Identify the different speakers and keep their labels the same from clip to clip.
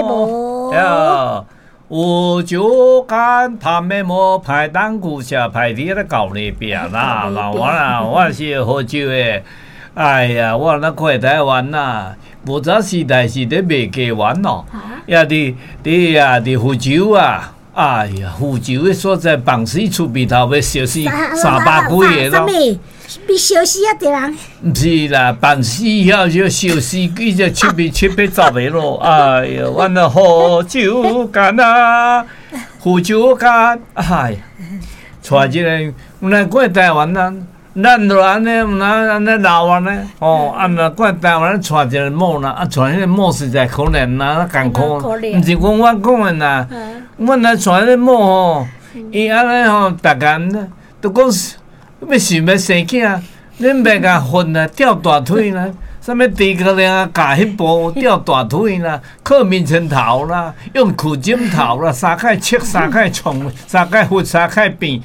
Speaker 1: 無？
Speaker 2: 呀，有酒干拍面膜，排档骨下排伫咧厚里壁啦。那我啦，我是福州的。哎呀，我若看台灣啦，無早時代是咧賣雞丸咯，也佇佇啊佇福州啊，哎呀，福州的所在放死出鼻頭欲燒死三百幾個咯。
Speaker 1: 比燒死啊！這人。
Speaker 2: 毋是啦，放死曉就燒死幾隻七八七八十個咯。哎呀，阮那福州干啊，福州干，哎呀，帶一个，阮過台灣啊。咱就按呢，毋若按呢老按呢，吼，啊若過台灣娶一个某啦，啊娶彼个某實在可憐啦，艱苦，毋是講我講的啦，阮來娶彼个某吼，伊按呢吼，逐工都講欲想欲生囝，恁袂共訓啊，吊大腿啦，啥物諸葛亮啊，教彼步吊大腿啦，靠眠床頭啦，用苦枕頭啦，三擺切，三擺創，三擺佛，三擺變，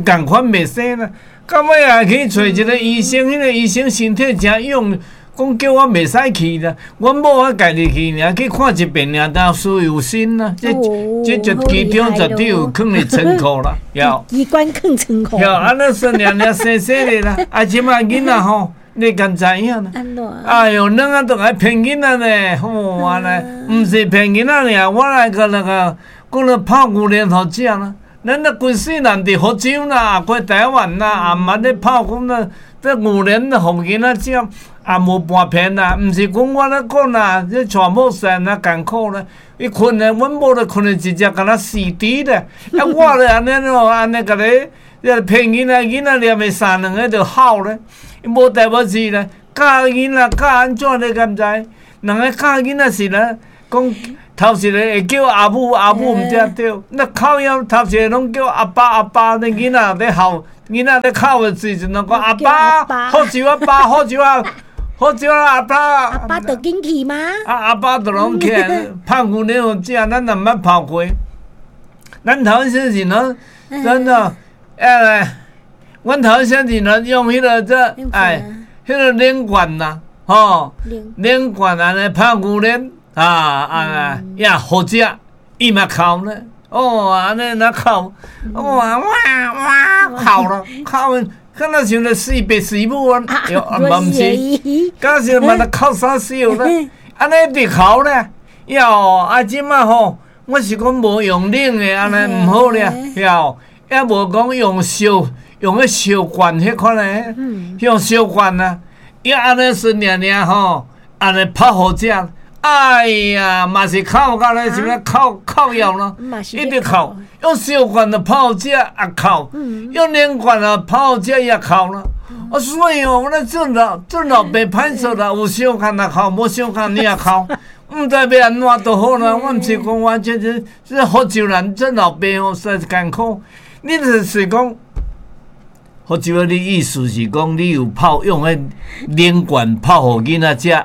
Speaker 2: 仝款袂生啦。到尾也去揣一個醫生，彼個醫生身體誠勇，講叫我袂使去啦。阮某我家己去爾，去看一遍爾，但事有心啦。這這就其中絕對有囥佇倉庫啦，有。
Speaker 1: 機關囥倉庫。
Speaker 2: 有按呢說爾爾細細的啦，啊，這擺囡仔吼，你敢知影啦？哎喲，兩个都愛騙囡仔呢，吼按呢，毋是騙囡仔爾，我來個那個講了泡牛奶予食啦。咱咧規世人佇福州啦，過台灣啦，也毋捌咧泡講啦，這牛奶予囡仔食，也無半騙啦。毋是講我咧講啦，這娶某實在艱苦咧。伊睏咧，阮某咧睏咧一隻敢若死豬咧。啊，我咧按呢咯，按呢共你，騙囡仔，囡仔連續三兩个就哭咧，無代無誌咧，教囡仔教按怎你敢知？人咧教囡仔是咧講。頭一个會叫阿母，阿母毋才對。那哭了頭一个攏叫阿爸，阿爸。那囡仔咧哭，囡仔咧哭的時陣，攏講阿爸，福州阿爸，福州啊，福州阿爸。
Speaker 1: 阿爸就緊去嗎？
Speaker 2: 啊，阿爸就攏起來泡牛奶予食，咱也毋捌泡過。咱頭先是喏，真的，哎，阮頭先是喏用彼个這，哎，彼个冷罐啦，吼，冷罐按呢泡牛奶。啊啊！也好食，伊嘛哭咧，哦，按呢若哭，哇哇哇哭咯，哭，敢若像咧死爸死母啊，嘛毋是，敢若是嘛咧哭啥小咧，按呢一直哭咧，吆啊這擺吼，我是講無用冷的，按呢毋好咧，吆，抑無講用燒，用彼燒罐彼款的，用燒罐啊，伊按呢順爾爾吼，按呢泡予食。哎呀，嘛是哭到咧，啥物哭哭枵咯，一直哭，用燒罐就泡食也哭，用冷罐啊泡食也哭咯。啊，所以哦，我咧做老做老爸歹做啦，有相共也哭，無相共你也哭，毋知欲按怎就好啦。我毋是講我這這這福州人做老爸哦，實在是艱苦。你就是講福州的意思是講，你有泡用彼冷罐泡予囡仔食。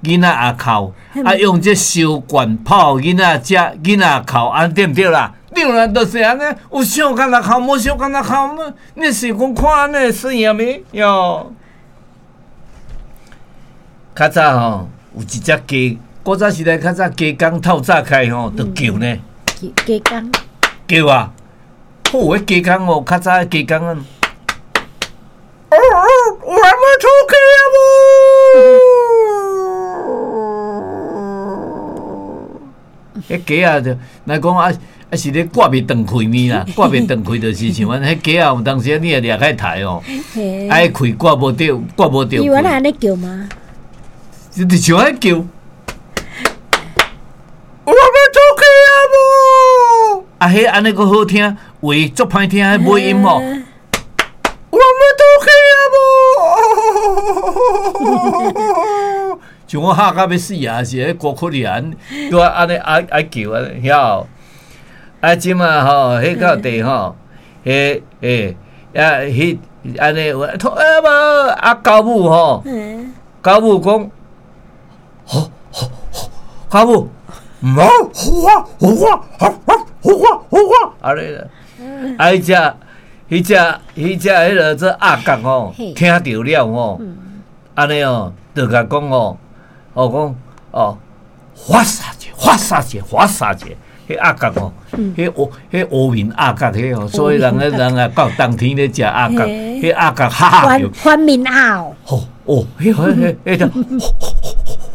Speaker 2: 囡仔也哭，啊用這燒罐泡囡仔食，囡仔也哭，按呢對毋對啦？對啦，就是按呢，有相仝也哭，無相仝也哭。你是講看按呢會媠未？喲，較早吼有一隻雞，古早時代較早雞公透早開吼，就叫呢。
Speaker 1: 雞公
Speaker 2: 叫啊！好，彼雞公哦，較早雞公啊。我還沒出去啊！彼雞仔就來講啊啊是咧掛袂斷氣呢啦，掛袂斷氣就是像按彼雞仔有當時你會掠開台哦，啊彼氣掛無著，掛無著。
Speaker 1: 伊原來按呢叫嗎？
Speaker 2: 就像按呢叫。我欲出去啊無？啊，彼按呢閣好聽，話足歹聽，彼尾音哦。我欲出去啊無？像我嚇甲欲死啊！是彼歌曲爾，拄仔按呢愛愛叫按呢，曉？啊，這馬吼，彼到底吼，彼欸啊，彼按呢話，啊無啊，狗母吼，狗母講，吼吼吼，狗母，毋好，好啊好啊好啊好啊好啊，按呢啦，啊，彼隻彼隻彼隻彼个做鴨角吼，聽著了吼，按呢哦，就共講吼，哦講哦，發啥子發。發殺一下，發殺一下，彼鴨角吼，彼烏面鴨角彼吼，所以人咧人啊到冬天咧食鴨角，彼鴨角哈哈叫，
Speaker 1: 翻面鴨哦，
Speaker 2: 吼哦，彼彼彼彼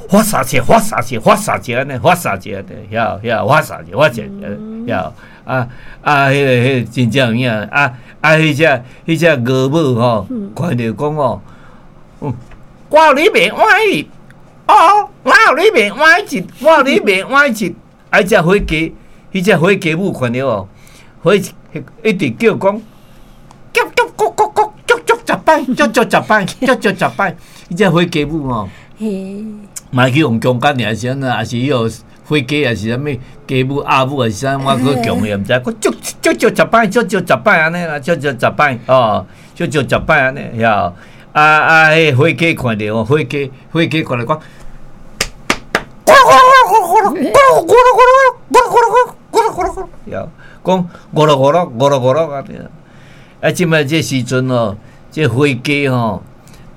Speaker 2: 發殺一下，發殺一下，發殺一下按呢，發殺一下，曉曉發殺一下，發殺一下，曉啊啊！彼個真正有影啊啊！彼隻鵝母吼，看著講哦，我予你袂歪哦，我予你袂歪一，我予你袂歪一，啊！彼隻火雞，彼隻火雞母看著哦，火一直叫講，叫叫咕咕咕，足足十擺，足足十擺，足足十擺，彼隻火雞母吼。嘛去予強姦爾，是按怎，抑是彼個火雞，抑是啥物雞母、鴨母，抑是啥，我閣強伊毋知，閣足足足十擺，足足十擺按呢啦，足足十擺哦，足足十擺按呢，曉啊啊！彼火雞看著哦，火雞火雞看著講，咕嚕咕嚕咕嚕咕嚕咕嚕咕嚕咕嚕咕嚕咕嚕咕嚕，曉講五六五六五六五六按呢。啊，這擺這時陣哦，這火雞吼，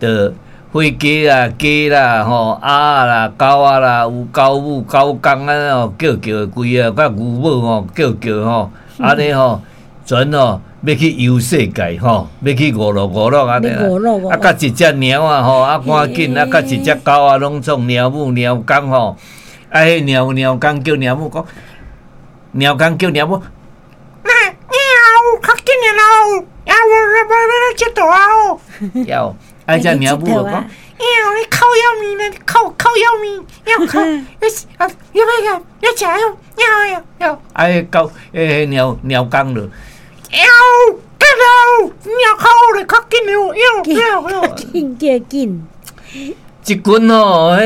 Speaker 2: 就。火雞啦、雞啦、吼鴨啦、狗仔啦，有狗母、狗公按呢吼叫叫規个，佮牛母吼叫叫吼，按呢吼全吼欲去遊世界吼，欲去五樂五樂按呢啦。啊，佮一隻貓仔吼，啊趕緊啊，佮一隻狗仔攏總貓母貓公吼，啊，彼貓貓公叫貓母講，貓公叫貓母，喵，較緊的囉，啊，我我我佚佗啊哦，曉。啊！隻貓母就講：喵，你靠腰面呢？靠靠腰面，要靠，啊，要不要？要食喲，喵喵喵！啊，彼狗，彼貓貓公就，喵，得囉，貓靠咧，較緊喲，喵喵喵！
Speaker 1: 緊叫緊。
Speaker 2: 一群吼，彼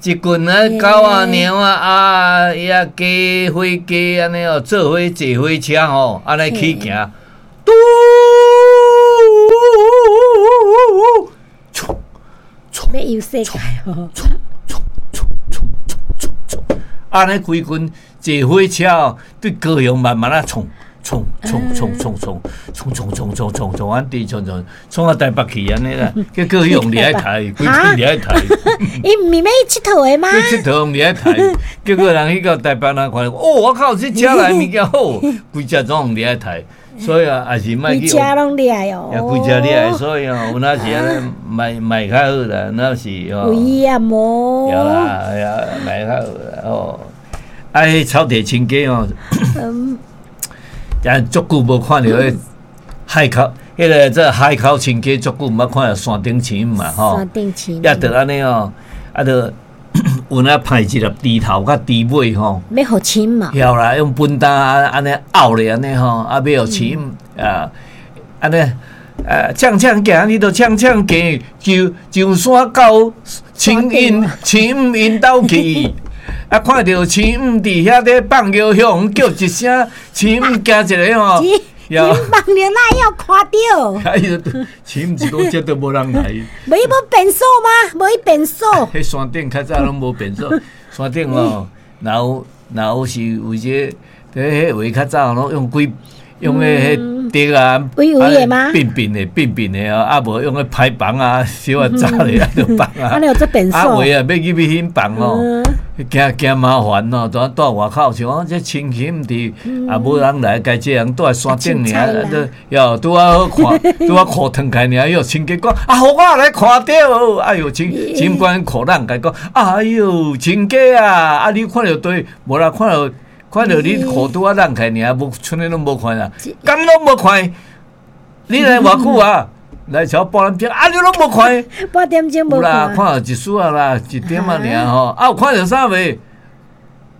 Speaker 2: 一群啊狗啊、貓啊、鴨啊、雞、火雞按呢哦，做伙坐火車吼，按呢去行。嘟！
Speaker 1: 欲遊世界哦！
Speaker 2: 按呢規群坐火車哦，對高雄慢慢仔衝衝衝衝衝衝衝衝衝衝衝衝，按佇衝衝衝到台北去按呢啦，結果彼予掠去刣，規群掠去刣。
Speaker 1: 伊毋是欲去𨑨迌的嗎？
Speaker 2: 去𨑨迌掠去刣，結果人去到台北人看，哦，我靠，這車來物件好，規隻攏掠去刣。所以啊，也是莫去。
Speaker 1: 規隻攏掠哦。
Speaker 2: 也規隻掠，所以哦，有哪是按呢，莫莫較好啦，若是哦。
Speaker 1: 有險哦。
Speaker 2: 對啦，哎呀，莫較好啦哦。啊，彼草地親家哦，也足久無看著彼海口，彼个這海口親家足久毋捌看著山頂青嘛吼。
Speaker 1: 山頂青。
Speaker 2: 也著按呢哦，啊著有影派一粒豬頭佮豬尾吼，
Speaker 1: 欲予飼嘛？
Speaker 2: 曉啦，用畚擔按呢拗咧按呢吼，啊欲予飼啊，按呢啊，嗆嗆行，你著嗆嗆行，上上山到青蔭青蔭𪜶兜去，啊，看著青蔭佇遐咧放尿，向叫一聲，青蔭驚一个吼。
Speaker 1: 放尿哪會曉看著？
Speaker 2: 哎呦，飼毋是講這都無人來。
Speaker 1: 無伊無便所嗎？無伊便所。
Speaker 2: 彼山頂較早攏無便所，山頂吼，若有若有是有這個，彼彼話較早攏用幾用彼彼竹啊，
Speaker 1: 圍圍的嗎？
Speaker 2: 扁扁的扁扁的哦，啊無用彼排房啊，小可紮咧啊，就放啊。
Speaker 1: 按呢有做便所。
Speaker 2: 啊有的啊，欲入去彼房哦。驚驚麻煩哦，蹛蹛外口像講這親戚毋佇，也無人來，家這人蹛佇山頂爾，喲拄仔好看，拄仔褲脫開爾，喲親家講，啊，予我來看著，哎喲，親親關褲人共講，哎喲，親家啊，啊你看著對，無啦，看著看著你褲拄仔攏開爾，無賰呢攏無看啊，敢攏無看？你來偌久啊？來超半點鐘，啊！你攏無看？
Speaker 1: 半點鐘無
Speaker 2: 看。有啦，看著一絲仔啦，一點仔爾吼。啊，有看著啥未？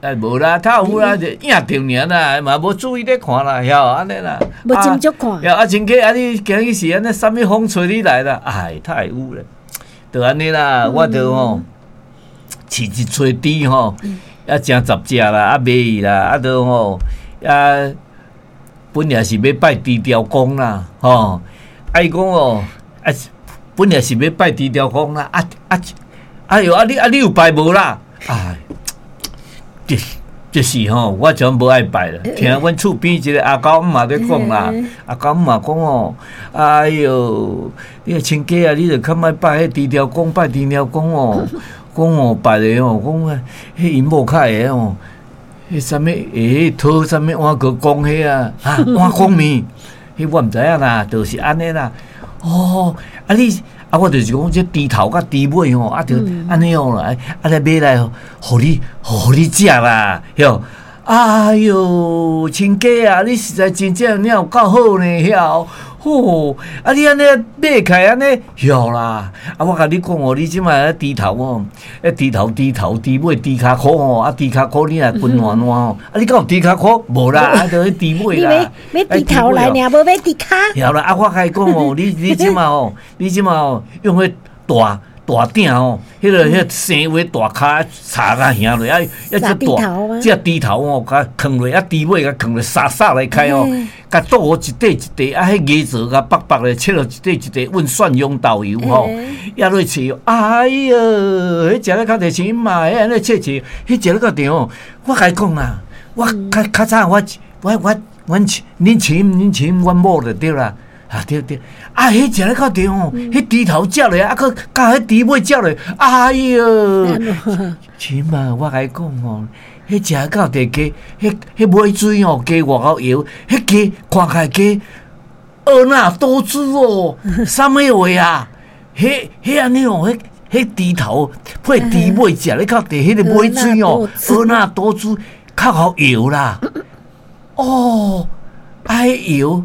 Speaker 2: 哎，無啦，較有啦，就影著爾啦，嘛無注意咧看啦，曉按呢啦。
Speaker 1: 無斟酌看。
Speaker 2: 曉啊，親家啊，你今日是按呢，啥物風吹你來啦？哎，太有咧，就按呢啦，我就吼飼一炊豬吼，啊，成十隻啦，啊，賣去啦，啊，就吼啊，本來是欲拜豬雕公啦，吼。啊！伊講哦，啊，本來是欲拜豬雕公啦，啊啊，哎喲，啊你啊你有拜無啦？哎，這這是吼，我全無愛拜啦。聽阮厝邊一个阿狗姆嘛咧講啦，阿狗姆嘛講哦，哎喲，你親家啊，你著較莫拜彼豬雕公，拜豬雕公哦。講哦，別个哦，講彼𪜶某較會哦，彼啥物會討啥物碗糕講彼啊，啊碗公麵，彼我毋知影啦，就是按呢啦。哦，啊你啊，我就是講這豬頭佮豬尾吼，啊就按呢哦啦，啊來買來，予你予你食啦，曉。哎喲，親家啊，你實在真正你有夠好呢，曉。吼，啊你按呢買起來按呢，曉啦。啊，我共你講哦，你這擺豬頭哦，豬頭豬頭豬尾豬跤箍吼，啊豬跤箍你若滾爛爛吼，啊你敢有豬跤箍？無啦，啊就彼豬尾啦。
Speaker 1: 你買買豬頭來爾，無買豬跤。
Speaker 2: 曉啦，啊我共伊講哦，你這擺哦，你這擺哦，用彼大大鼎哦，彼個生話大跤炒甲瓦落，啊，一隻大這豬頭哦，共囥落，啊豬尾共囥落，沙沙來開哦，共倒予一塊一塊，啊，彼魚臊共白白的切落一塊一塊，溫蒜蓉豆油吼，抑落切，哎喲，彼食咧較濟錢嘛，彼按呢切切，彼食咧較著哦。我共伊講啦，我較較早我我我阮恁親恁親阮某就對啦。啊對對，啊彼食咧較著吼，彼豬頭食落，啊閣佮彼豬尾食落，哎喲，親啊，我共你講吼，彼食到佇雞，彼彼尾水吼，雞外口搖，彼雞看起來雞婀娜多姿哦，啥物話啊？彼彼按呢哦，彼彼豬頭配豬尾食咧較著，彼个尾水哦，婀娜多姿，較好搖啦。哦，啊彼搖。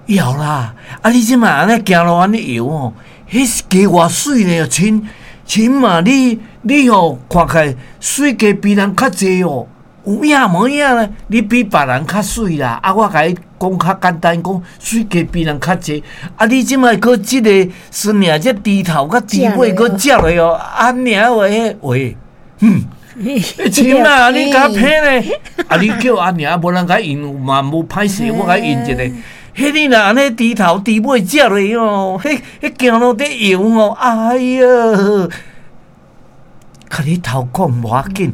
Speaker 2: 搖啦！啊，你這擺按呢行路按呢搖吼，彼是雞偌媠呢？親親嘛，你你吼看起來媠雞比人較濟哦，有影無影呢？你比別人較媠啦！啊，我共你講較簡單，講媠雞比人較濟。啊，你這擺閣這个孫爾這豬頭佮豬尾閣食落哦，按呢話話，哼！親啊，你共騙呢？啊，你叫阿娘，無人共伊應嘛無歹勢，我共伊應一下。彼你若按呢豬頭豬尾食落哦，彼彼行路佇搖吼，哎喲，共你頭講無要緊，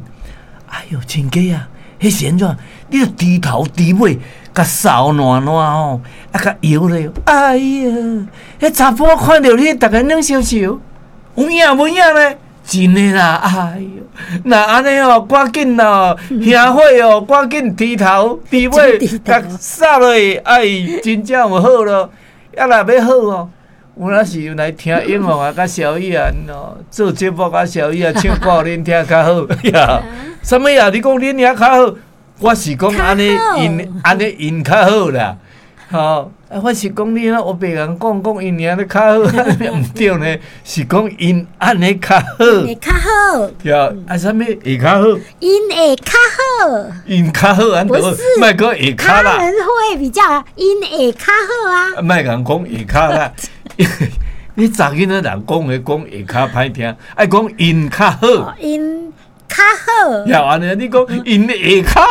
Speaker 2: 哎喲，親家啊，彼是按怎？你著豬頭豬尾共掃爛爛吼，啊共搖咧，哎喲，彼查埔看著你，逐个軟燒燒，有影無影咧？真的啦，哎喲，若按呢哦，趕緊哦，兄火哦，趕緊豬頭豬尾共掃落去，哎，真正有好咯。啊，若欲好哦，有影是來聽英雄啊，佮蕭亞哦，做節目佮蕭亞唱歌予恁聽較好呀。啥物啊？你講恁遐較好，我是講按呢𪜶按呢𪜶較好啦。吼，啊，我是講你若烏白共講講𪜶爾咧較好，毋對呢，是講𪜶按呢較好。
Speaker 1: 會較好。
Speaker 2: 對啊，啥物會較好？𪜶
Speaker 1: 會較好。
Speaker 2: 𪜶較好，按著莫閣會較啦。
Speaker 1: 他們會比較𪜶會較好啊。
Speaker 2: 莫共講會較啦，你查囡仔人講話講會較歹聽，愛講𪜶較好。
Speaker 1: 𪜶較好。
Speaker 2: 呀，按呢，你講𪜶會較。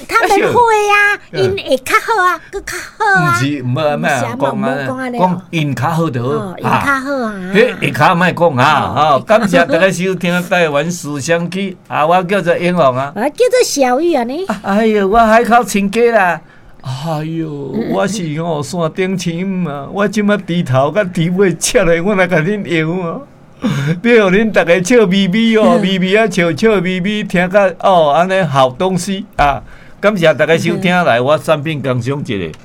Speaker 1: 他們會啊，𪜶會較好啊，閣較好啊。
Speaker 2: 毋是，毋好莫講啊，講𪜶較好就好。
Speaker 1: 𪜶較好啊。
Speaker 2: 彼下跤莫講啊，吼！感謝大家收聽台灣思想區，啊，我叫做英雄啊。
Speaker 1: 我叫做小玉啊呢。
Speaker 2: 哎喲，我海口親家啦。哎喲，我是吼山頂親啊，我這擺豬頭佮豬尾切落，我來共恁搖啊。欲予恁逐家笑眯眯哦，眯眯啊笑笑眯眯，聽甲哦按呢好東西啊！感謝大家收聽，來我產品工商一下。